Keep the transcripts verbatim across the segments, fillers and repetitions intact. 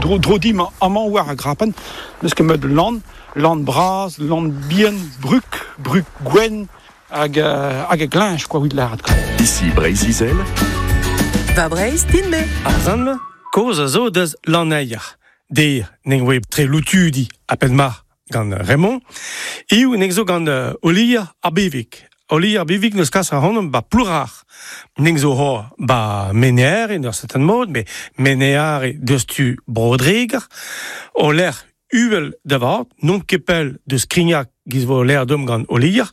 dro, dro dim amañ war a grapen, neus ket meud land, land braz, land bien, bruk, bruk gwen, hag, hag a glinch, quoi, wit lâret, quoi. Ici Breizh-Izel. Va Breizh, din me. Ar zan, koz a zo deus lanneier. Der, neng oe tre loutudi a penmar gant Raymond. Iou neng zo gant Olier ar Bevik. Olier ar Bevik neus kas a honom ba plourar. Neng zo ho ba meneare, ur certain mod, me meneare deus tu brodreger. O l'er uvel da vat, non kepel deus Krignac giz vo l'air dom gant Olier.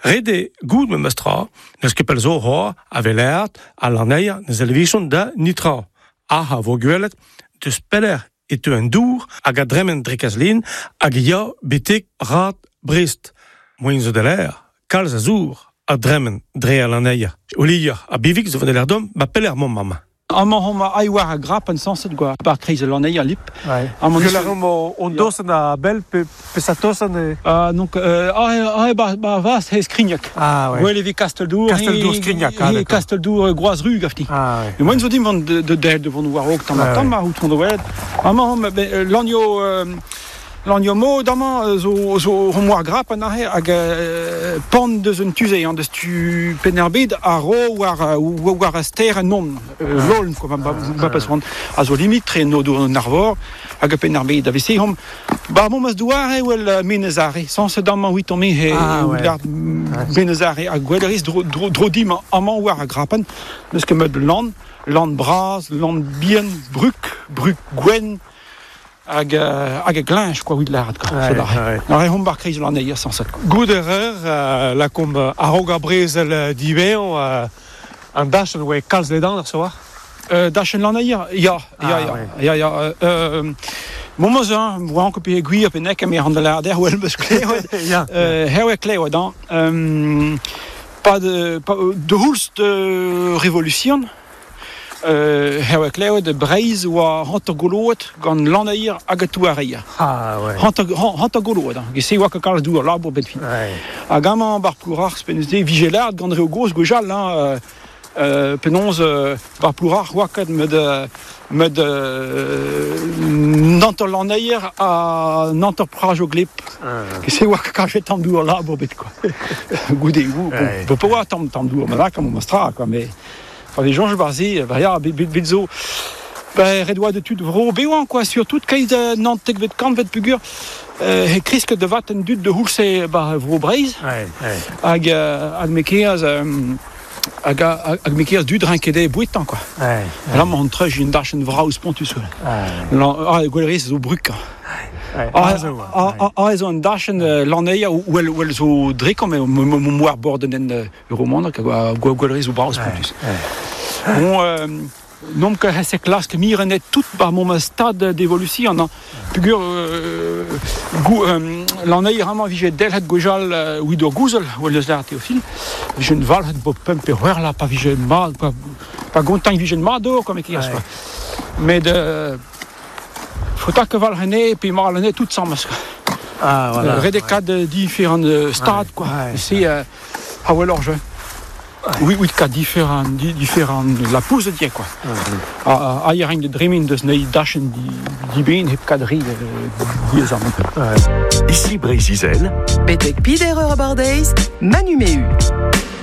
Rede goud me mestra, neus kepel zo ho a velert, a lanneier, neus elvichon da nitra. Aha vo gwelet, deus peller e teu an dour hag a dremen drekazlin hag ya betek rat Brest. Moin zo de l'air, kalz a zour a dremen dre a lanneier. Olier a bivik zo van l'air dom, ba peller mon mama. Amañ hom a war a grap an sanset gwa bar kreiz lanneier lip. Ouais. Amañ la rom on dosen a bel pe pe sa tosen e ah donc euh, ah ah ba ba vas he Skrignac. Ah ouais. Gwell e vi Kasteldour. Kasteldour Skrignac. Ah, Kasteldour Groazru gafti. Ah ouais. Mais moi zo dim van de de del de von war ok tam tam ma out on wed. Amañ hom lanio lanio mod amañ zo zo hom war grap an ahe hag pan deus un tuze an deus tu Pennerbed a ro war war a ster non loln quoi ba ba pas ran a zo limit tre no do an arvor hag Pennerbed a vese hom ba mom as douare wel menezare sans se damañ huit me he menezare hag gwelleris dro dro dim amañ war a grapen neus ket meud land land braz land bien bruk bruk gwen hag hag a glinch quoi wit lâret quoi. Ouais, ouais. Ar hom bar kreiz lanneier sanset. Goud erreur euh, la komb a-raok ar brezel diveon euh, an dachen oe kalz ledan ar soar. Euh, dachen lanneier ya ya ya ya ya euh Mon moz hein, voan ket pe gwir pe nek me an da lâret wel beus klevet. Ya. Euh herwe klevet an euh pas de pas de houlst de révolution. Euh, herwe klevet de Breizh oa hanter goloet gant lanneier hag a touareier. Ah ouais. Hanter hanter goloet hein. Gese oa ket kalz dour labour bet fin. Ouais. Hag amañ bar plourar penaos de vigelard gant reo goz gwejal hein euh, euh, penaos euh, bar plourar oa ket med med euh, nanter lanneier ha nanter praj o gleb. Ah. Gese oa ket kalz tamm dour labour bet quoi. Goude ou Ouais. bon, pe oa tamm tamm dour ma kam o mastra quoi mais enfin, les gens je barzi bah ya bet zo bah red oa de tud vro beoan quoi surtout keiz nantek vet kant vet pugur euh, he krisk de vat en dud de houlse ba vro Breizh Ouais, ouais. hag hag mekeaz hag hag mekeaz dud rinkede bouetan quoi. Ouais. Là on treuj un dachen vraus pontus. Ouais. Ah gwellerez zo bruk. Ouais. Ah Ah, ah ah zo an dachen lanneier ou el ou el zo drekom mo war borden en roman hag gwellerez zo braus pontus. Bon euh, nom que hesse klask mirenet tout par mon stade d'évolution hein. Pugur euh, gou euh, lanneier amañ vije delhet gwejal euh, wido gouzel ou leus lar Théophile vije un valhet bo pemp pe c'hwer la pa vije ma pa, pa gontañ vije ma do comme kias quoi. Mais de faut que valhene pe marlene tout ensemble quoi. Ah voilà. Euh, Rede kad différents stades quoi. Ouais. C'est euh, ah ouais alors je Oui, oui, ka différents différents la pousse de quoi. Ah ah, il de dreaming deus nei dachen di di ben hep kadri di Ouais. Ici Breizh-Izel. Betek pider ur abardeiz, Manu Mehu.